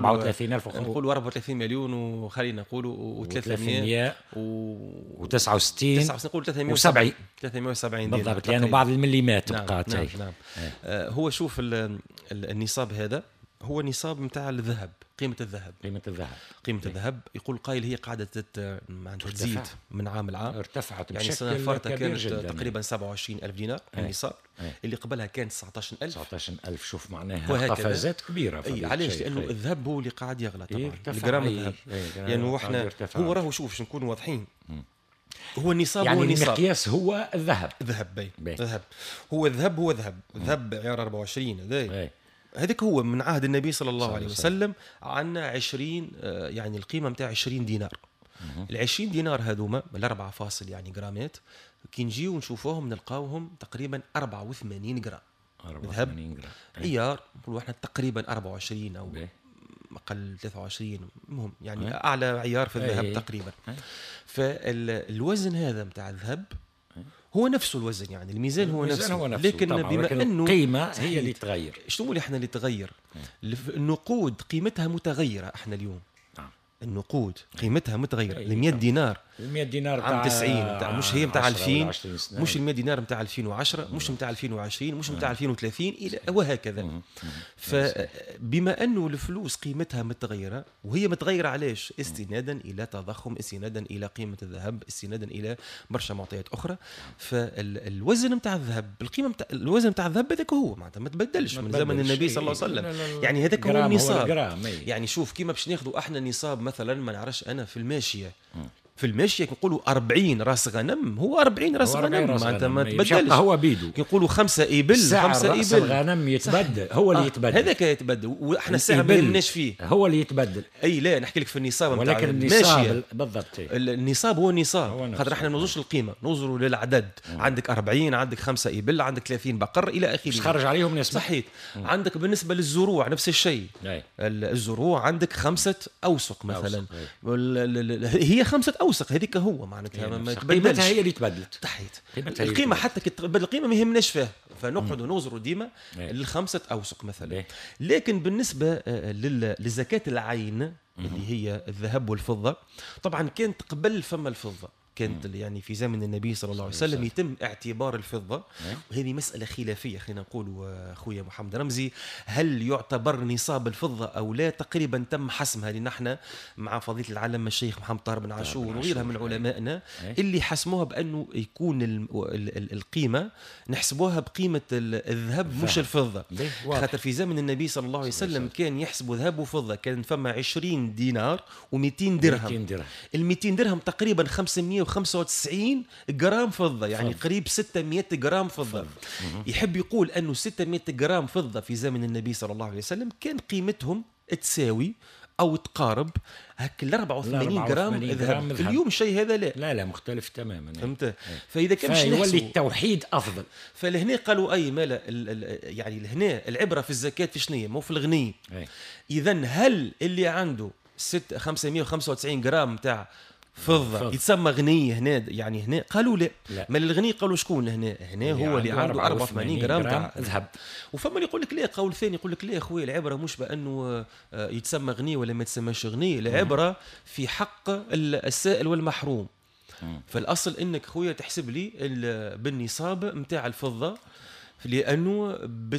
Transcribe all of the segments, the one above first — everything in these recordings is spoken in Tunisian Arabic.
34000، نقولوا 34 مليون، وخلينا نقولوا و369، نقول 370، 370 بالضبط، لانه بعض المليمات بقات. نعم نعم. هو شوف النصاب هذا هو نصاب نتاع الذهب، قيمة الذهب، قيمة الذهب، قيمة الذهب. يقول قائل هي قاعدة تزيد من عام لعام، ارتفعت يعني بشكل السنة الفارطة كبير كانت جدا تقريبا 27000 دينار النصاب، اللي قبلها كان 19000. 19000، شوف معناها قفزات كبيرة. أي علاش؟ لأنه الذهب هو اللي قاعد يغلى طبعا، الجرام الذهب. يعني احنا هو راهو شوف باش نكونوا واضحين، هو النصاب، يعني هو النصاب، المقياس هو الذهب. الذهب الذهب هو الذهب، هو ذهب، ذهب عيار 24 هذا هذاك هو من عهد النبي صلى الله عليه وسلم. عندنا 20، يعني القيمة نتاع 20 دينار. ال 20 دينار هذوما الأربعة فاصل يعني جرامات، كي نجيو نشوفوهم نلقاوهم تقريبا 84 جرام 84 جرام عيار، نقولوا احنا تقريبا 24 او اقل 23، المهم يعني اعلى عيار في الذهب تقريبا. فالوزن هذا نتاع الذهب هو نفسه الوزن، يعني الميزان هو نفسه، هو نفسه، لكن بما انه القيمة هي اللي تغير. شنو اللي احنا اللي تغير؟ النقود قيمتها متغيرة احنا اليوم. النقود قيمتها متغيرة. ال 100 دينار، ال 100 دينار عام 90 مش هي نتاع 2000، مش ال 100 دينار نتاع 2010، مش نتاع 2020، مش نتاع 2030 الى وهكذا. فبما انه الفلوس قيمتها متغيرة، وهي متغيرة علاش؟ استنادا الى تضخم، استنادا الى قيمة الذهب، استنادا الى برشا معطيات اخرى. فالوزن نتاع الذهب، القيمة نتاع الوزن نتاع الذهب هذاك هو معناتها ما تبدلش من زمن النبي صلى الله عليه وسلم، يعني هذاك هو النصاب. يعني شوف كيما باش ناخذوا احنا نصاب مثلا، ما نعرفش انا في الماشية، في الماشية كنقولوا 40 راس غنم، هو 40 راس غنم، معناتها ما تبدلش، هو بيدو. كنقولوا 5 إبل، 5 راس إبل، الغنم يتبدل، هو اللي يتبدل، هذاك يتبدل، واحنا الساعة ما يهمناش فيه، هو اللي يتبدل. اي لا نحكي لك في النصاب، ولكن النصاب بالضبط، النصاب هو النصاب، خاطر احنا ما نوزروش القيمة، نوزروا للعدد. عندك 40، عندك 5 إبل، عندك 30 بقر الى اخره، خرج عليهم نسبه. صحيح. عندك بالنسبة للزروع نفس الشيء، الزروع عندك 5 أوسق مثلا، هي 5 أوسق، هذيك هو معناتها ما تبدلش، قيمتها هي اللي تبدلت. تحيت القيمة، حتى كي تبدل القيمة ما يهمناش فيها، فنقعدوا نوزروا ديما للخمسة أوسق مثلا. لكن بالنسبة لزكاة العين اللي هي الذهب والفضة، طبعا كانت قبل فما الفضة، كانت يعني في زمن النبي صلى الله عليه وسلم يتم اعتبار الفضة، وهذه مسألة خلافية خلينا نقول أخويا محمد رمزي، هل يعتبر نصاب الفضة أو لا؟ تقريبا تم حسمها لأن احنا مع فضيلة العلامة الشيخ محمد طاهر بن عاشور وغيرها من علمائنا اللي حسموها بأنه يكون القيمة نحسبوها بقيمة الذهب مش الفضة، خاطر في زمن النبي صلى الله عليه وسلم كان يحسبوا ذهب وفضة، كان فما 20 دينار و200 درهم، ال 200 درهم تقريبا 595 جرام فضة، يعني قريب 600 جرام فضة. يحب يقول أنه 600 جرام فضة في زمن النبي صلى الله عليه وسلم كان قيمتهم تساوي أو تقارب هك 84 جرام ذهب. اليوم الشيء هذا لا لا مختلف تماما، فهمت؟ فإذا كان باش يولي التوحيد أفضل. فلهنا قالوا أي مالا يعني لهنا العبرة في الزكاة في شنية، مو في الغني. إذا هل اللي عنده 595 جرام تاع فضة يتسمى غني هنا؟ يعني هنا قالوا لا. ما الغني قالوا شكون هنا؟ هنا هو اللي عنده 84 جرام تاع ذهب. وفما اللي يقول لك لا، قول ثاني يقول لك لا خويا، العبرة مش بانه يتسمى غني ولا ما يتسماش غني، العبرة في حق السائل والمحروم. فالاصل انك خويا تحسب لي بالنصاب نتاع الفضة، لانه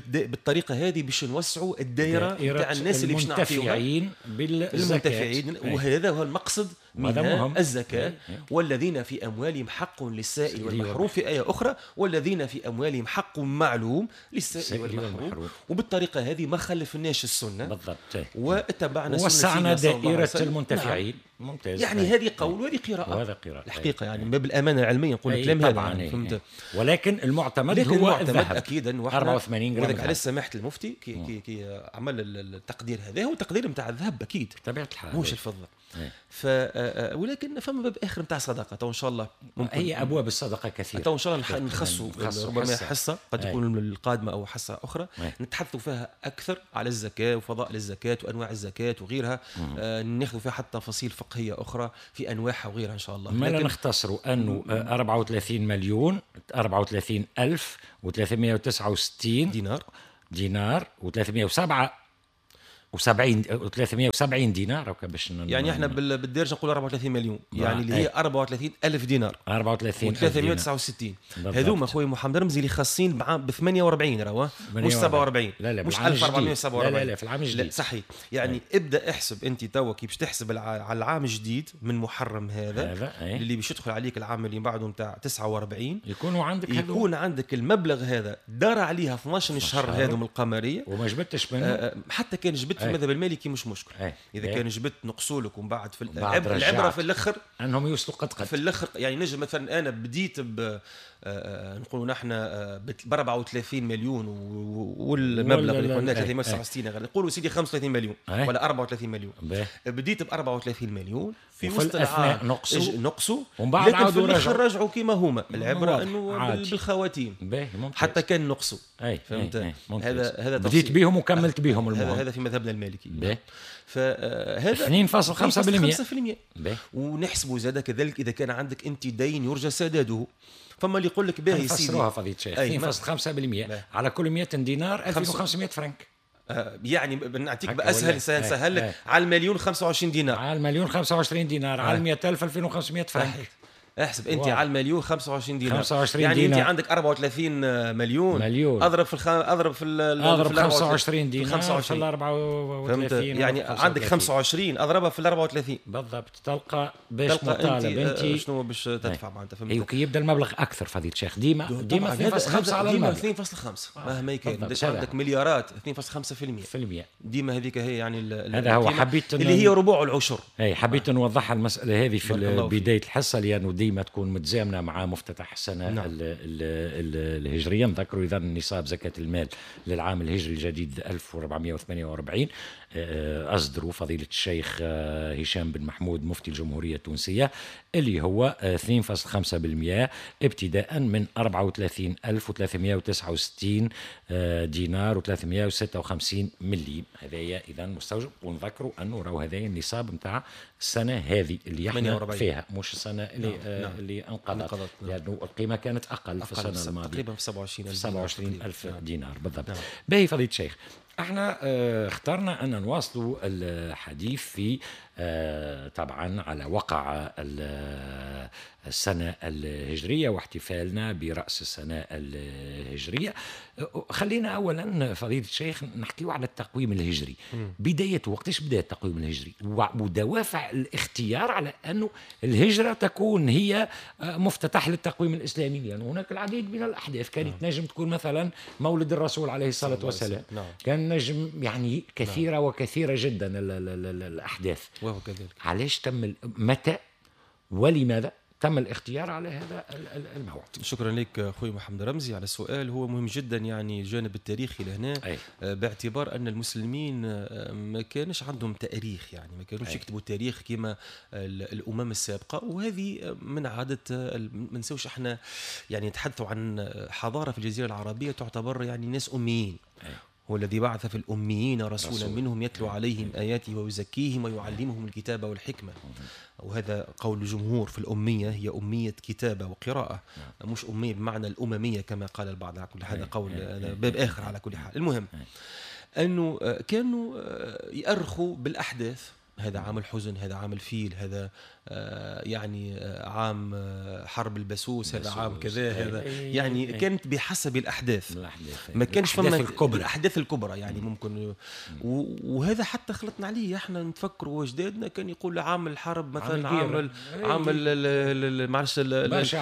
بالطريقة هذه باش نوسعوا الدائرة تاع الناس اللي باش نعطيوها بالمنتفعين، وهذا هو المقصد من الزكاة. والذين في اموالهم حق للسائل والمحروم، في ايه اخرى والذين في اموالهم حق معلوم للسائل والمحروم. وبالطريقه هذه ما خلفناش السنة بالضبط، واتبعنا سنة، وسعنا دائرة المنتفعين. نعم. ممتاز. يعني هذه قول وهذه قراءة، وهذا قراءة الحقيقة، يعني من باب الامانة العلمية نقول الكلام هذا يعني، فهمت؟ ولكن المعتمد هو الذهب اكيدا، 84 جرام. وذاك علاش سماحة المفتي كي كي عمل التقدير هذا، هو تقدير نتاع الذهب اكيد بطبيعة الحال، مش الفضة. ف ولكن فما باب اخر نتاع صدقه، تو ان شاء الله ممكن هي ابواب الصدقة كثيرة، تو ان شاء الله نخصوا ربما حصة قد تكون القادمة او حصة اخرى نتحدثوا فيها اكثر على الزكاة وفضائل الزكاة وانواع الزكاة وغيرها، ناخذ فيها حتى تفاصيل فقهية اخرى في انواعها وغيرها ان شاء الله. ما لا نختصروا انه 34 مليون 34,369 دينار و307 و70 370 دينار باش يعني احنا بالدارجة نقول 34 مليون، يعني اللي هي 34 ألف دينار، 34 369. هذوما خويا محمد رمزي اللي خاصين ب 48 راهو، مش 47. لا لا، مش 1447. لا لا لا، في العام الجديد. صحيح. يعني ابدا احسب انت توا كي باش تحسب على العام الجديد من محرم هذا اللي باش يدخل عليك العام اللي بعده نتاع 49، يكون عندك المبلغ هذا دار عليها 12 شهر هذم القمريه وما جبتش منه. حتى كان جبت في المذهب المالكي مش مشكل. اذا كان جبت نقصولك ومن بعد في العبرة في الاخر انهم يوصلوا قد في الاخر. يعني نجم مثلا انا بديت ب نقولوا نحن ب 34 مليون والمبلغ اللي قلنا 369، نقولوا سيدي 35 مليون ولا 34 مليون. بديت ب 34 مليون في وسط العام نقصوا ومن بعد عاودوا رجعوا كما هما. العبرة انه بالخواتيم حتى كان نقصوا. فهمت؟ هذا بديت بهم وكملت بهم. المهم هذا في مذهبنا المالكي. فهذا 2.5%. ونحسبوا زاد كذلك اذا كان عندك انت دين يرجى سداده. فما اللي يقول لك باهي سيدي فسروها فضيلة الشيخ 2.5% على كل 100 دينار 2500 فرنك. يعني نعطيك باسهل سهل لك على المليون 25 دينار، على المليون 25 دينار، على 100000 2500 فرنك. احسب انت على المليون 25 دينار، 25 يعني دينار. انت عندك 34 مليون اضرب في اضرب في اضرب 25 دينار في 34، يعني عندك 25 اضربها في 34 بالضبط، تلقى باش مطالب انت شنو باش تدفع معناتها. فهمت؟ ايوه، كي يبدا المبلغ اكثر فضيلة الشيخ ديما 2.5 على المبلغ، ديما 2.5 مهما كان عندك مليارات 2.5% ديما هذيك هي. يعني هذا هو حبيت اللي هي ربع العشر. اي حبيت نوضحها المسالة هذه في بداية الحصة لانه ديما تكون متزامنه مع مفتتح السنة. نعم. الهجرية. نذكروا اذا نصاب زكاة المال للعام الهجري الجديد 1448 اصدروا فضيلة الشيخ هشام بن محمود مفتي الجمهورية التونسية اللي هو 2.5% ابتداء من 34369 دينار و356 مليم. هذايا اذا مستوجب. ونذكروا انه راهو هذايا النصاب نتاع السنة هذه اللي احنا فيها، مش السنة اللي نعم. اللي انقضت، لأنه القيمة كانت أقل في السنة الماضية تقريبا في 27000 دينار بالضبط. نعم. باهي فضيلة الشيخ، احنا اخترنا أن نواصلوا الحديث في طبعا على وقع السنة الهجرية واحتفالنا برأس السنة الهجرية. خلينا أولا فضيلة الشيخ نحكيو على التقويم الهجري. بدايته وقتاش بدأ التقويم الهجري ودوافع الاختيار على أنه الهجرة تكون هي مفتتح للتقويم الإسلامي، لأن يعني هناك العديد من الأحداث كانت نجم تكون مثلا مولد الرسول عليه الصلاة والسلام. كان نجم يعني كثيرة وكثيرة جدا الأحداث. وهو كذلك. علاش تم متى ولماذا تم الاختيار على هذا الموعد؟ شكرا لك خوي محمد رمزي على السؤال، هو مهم جدا يعني الجانب التاريخي لهنا. باعتبار ان المسلمين ما كانش عندهم تاريخ، يعني ما كانوش يكتبوا تاريخ كما الامم السابقة، وهذه من عادة ما نساوش احنا يعني نتحدثوا عن حضارة في الجزيرة العربية تعتبر يعني ناس اميين. هو الذي بعث في الأميين رسولا منهم يتلو عليهم آياته ويزكيهم ويعلمهم الكتاب والحكمة. وهذا قول الجمهور في الأمية، هي أمية كتابة وقراءة، مش أمية بمعنى الأممية كما قال البعض. على كل هذا قول، هذا باب آخر على كل حال. المهم أنه كانوا يأرخوا بالأحداث، هذا عام الحزن، هذا عام الفيل، هذا يعني عام حرب البسوس، هذا عام كذا، هذا يعني كانت بحسب الأحداث، ما كانش فما الأحداث الكبرى يعني ممكن. وهذا حتى خلطنا عليه احنا نتفكروا واجدادنا كان يقول عام الحرب مثلا، عام معلش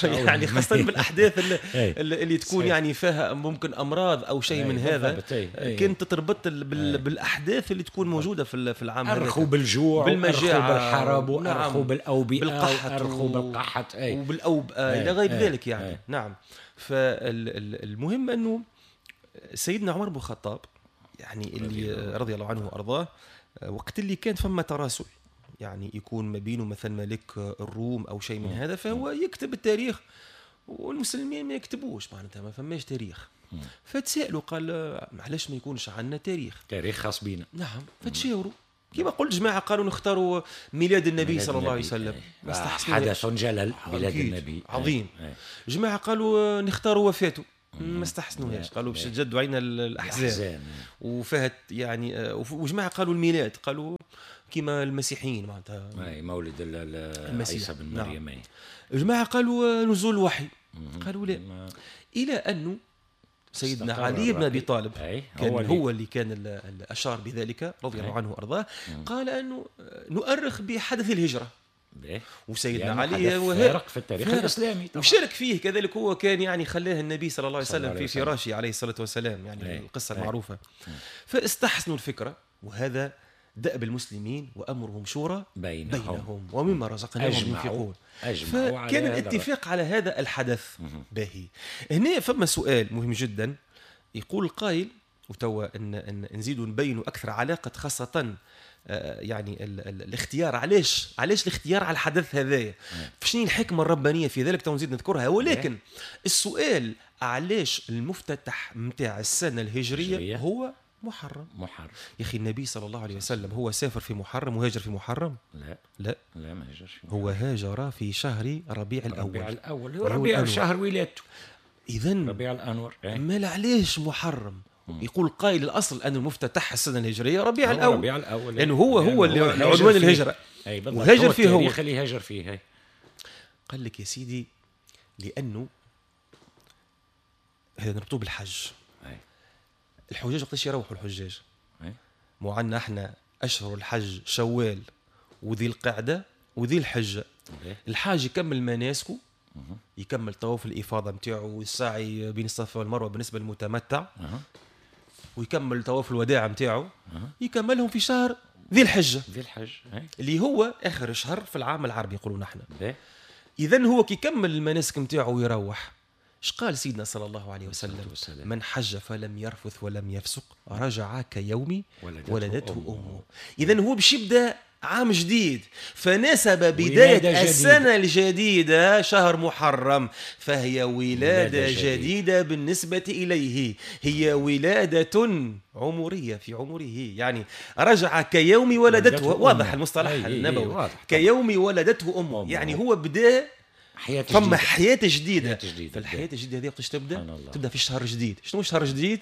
يعني خاصة بالأحداث اللي تكون يعني فيها ممكن أمراض أو شيء من هذا، كانت تتربط بالأحداث اللي تكون موجودة في العام هذا. أرخوا بالجوع، بالمجاعة، بالحرب، وأرخوا بالأوبئة، وأرخوا بالقحط وبالأوبئة إلى غير ذلك يعني. نعم. فالمهم أنه سيدنا عمر بن الخطاب يعني اللي رضي الله عنه وأرضاه، وقت اللي كان فما تراسل يعني يكون ما بينه مثلا ملك الروم أو شيء من هذا، فهو يكتب التاريخ والمسلمين ما يكتبوش، معناتها ما فماش تاريخ. فتسألوا قال معلش ما يكونش عندنا تاريخ، تاريخ خاص بينا. نعم. فتشاوروا كما قلت جماعة، قالوا نختاروا ميلاد النبي صلى الله عليه وسلم، حدث جلل، ميلاد النبي عظيم. جماعة قالوا نختاروا وفاته، ما استحسنوهاش، قالوا باش تجدوا علينا الاحزان وفهت يعني. وجماعه قالوا الميلاد، قالوا كما المسيحيين معناتها مولد عيسى بن مريم. نعم. جماعة قالوا نزول الوحي، قالوا لا. الى انه سيدنا علي بن ابي طالب كان هو اللي كان اشار بذلك رضي الله عنه وارضاه، قال انه نؤرخ بحدث الهجرة. وسيدنا يعني علي فارق في التاريخ الاسلامي طبعا. وشارك فيه كذلك، هو كان يعني خلاه النبي صلى الله عليه وسلم في فراشه عليه الصلاة والسلام، يعني القصة المعروفة. فاستحسنوا الفكرة، وهذا دأب المسلمين وأمرهم شورى بينهم ومما رزقناهم ينفقون. فكان الاتفاق على هذا الحدث. باهي، هنا فما سؤال مهم جدا، يقول القائل، وتوا ان نزيدوا نبينوا أكثر علاقة خاصة يعني الاختيار، علاش الاختيار على الحدث هذايا، شنو الحكمة الربانية في ذلك، تو نزيد نذكرها. ولكن السؤال علاش المفتتح متاع السنة الهجرية هو محرم؟ يا اخي النبي صلى الله عليه وسلم هو سافر في محرم وهاجر في محرم؟ لا لا لا، ما هاجرش. هو هاجر في شهر ربيع الاول. ربيع الاول، ربيع شهر ولادته، اذا ربيع الانور. ما علاش محرم؟ يقول قائل الاصل ان المفتتح السنة الهجرية ربيع الاول، ربيع الاول، لانه هو اللي عنوان الهجرة، وهاجر فيه، هو اللي هاجر فيه. قال لك يا سيدي لانه هذا نربطوه بالحج. الحجاج وقتاش يروحوا الحجاج؟ مو عندنا احنا اشهر الحج شوال وذي القعدة وذي الحجة. الحاج يكمل مناسكه، يكمل طواف الافاضة نتاعو والسعي بين الصفا والمروة بالنسبة للمتمتع، ويكمل طواف الوداع نتاعو، يكملهم في شهر ذي الحجة، ذي الحج اللي هو اخر شهر في العام العربي يقولوا نحن. اذا هو كي يكمل المناسك نتاعو ويروح، اش قال سيدنا صلى الله عليه وسلم؟ من حج فلم يرفث ولم يفسق رجع كيوم ولدته أمه. إذن هو باش يبدأ عام جديد، فنسب بداية السنة الجديدة شهر محرم، فهي ولادة جديدة بالنسبة إليه، هي ولادة عمرية في عمره، يعني رجع كيوم ولدته. واضح المصطلح النبوي، كيوم ولدته أمه، يعني هو بدأ حياة فما حياة جديدة. فالحياة الجديدة هذه وقتاش تبدا؟ تبدا في شهر جديد. شنو شهر جديد؟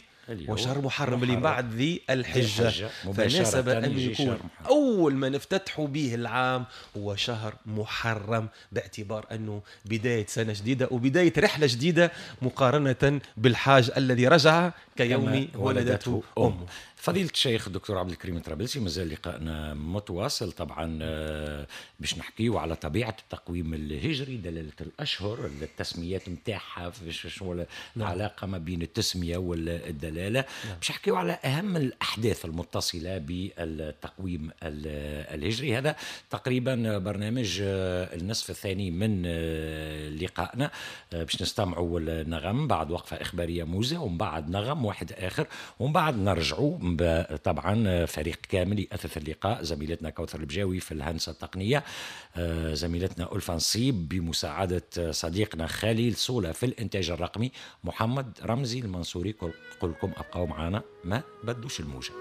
وشهر محرم اللي بعد ذي الحجة. فناسب أن يكون أول ما نفتتح به العام هو شهر محرم، باعتبار أنه بداية سنة جديدة وبداية رحلة جديدة مقارنة بالحاج الذي رجع كيوم ولدته أمه. فضيلة الشيخ الدكتور عبد الكريم الطرابلسي، مازال لقائنا متواصل طبعا باش نحكيو على طبيعة التقويم الهجري، دلالة الأشهر، التسميات نتاعها، شنو العلاقة ما بين التسمية والدلالة، باش نحكيو على أهم الأحداث المتصلة بالتقويم الهجري. هذا تقريبا برنامج النصف الثاني من لقائنا، باش نستمعوا النغم بعد وقفة إخبارية موزة، ومن بعد نغم واحد آخر، ومن بعد نرجعوا طبعا فريق كامل يأثث اللقاء، زميلتنا كوثر البجاوي في الهندسة التقنية، زميلتنا ألفا نصيب بمساعدة صديقنا خليل صولة في الإنتاج الرقمي، محمد رمزي المنصوري. قل لكم أبقوا معنا، ما بدوش الموجة.